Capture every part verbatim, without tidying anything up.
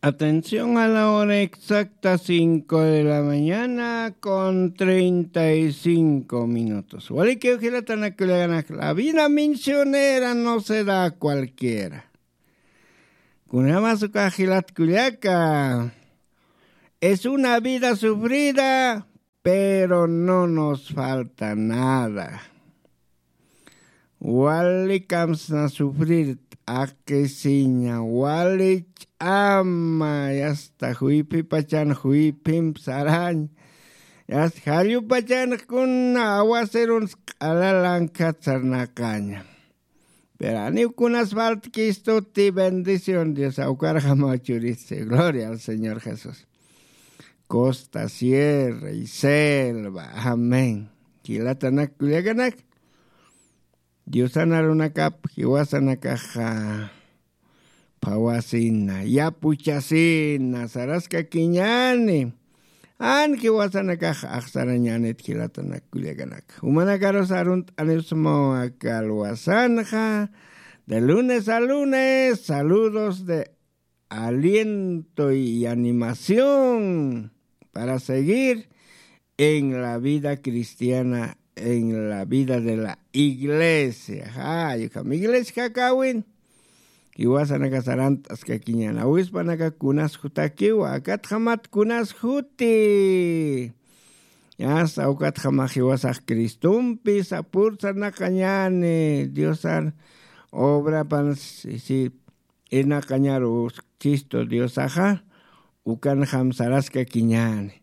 Atención a la hora exacta, cinco de la mañana con treinta y cinco minutos. Walikiw jilatanakullakanak, la vida misionera no se da a cualquiera. Kunjamasa ukax jilat kullaka. Es una vida sufrida, pero no nos falta nada. Wali kamsna sufrir t'aqisiña, wali ch'ama, yasta juyphipachan juyphimp sarañ, yasta jallupachan kuna awaseruns q'alalankhat sarnaqaña. Pero aniw kunas faltkistuti bendición Dios awkarjamaw churisi. Gloria al Señor Jesús. Costa, sierra y selva. Amén. Jilatanak kullakanak. Diosan arunakap jiwasanakaxa phawasina, yapuchasina, saraskakiñani. Jan jiwasanakax axsarañanit jilatanak kullakanak. Jumanakarus arunt'aniw suma aka alwasanxa. De lunes a lunes, saludos de aliento y animación para seguir en la vida cristiana, en la vida de la iglesia. Jay ukham iglesia jakawin. Jiwasanaka sarant'askakiñan, awispanaka kunas jutakiwa, akatjamat kunas juti. Yasta ukatjamax jiwasax Cristompi sapur sarnaqañani, Diosar obrapan si, si, irnaqañaru Cristo Diosaxa, ukanjam saraskakiñani.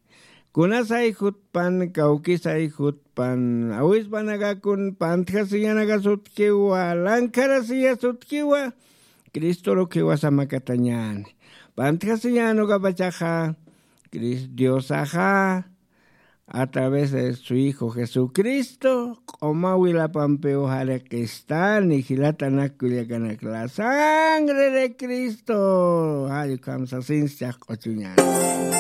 Kunasay jutpan, kawkisay jutpan, awispanakakun pantjasiñanaka sutkiwa, lankarasiña sutkiwa, Cristoruk jiwasamakatañani. Pantjasiñan ukapachaxa, Cris-, Diosaxa, a través de su Hijo Jesucristo, q'uma wilapampiw jariqistani, jilatanak kullakanak, la sangre de Cristo. Jay ukham sasinchix q'uchuñani.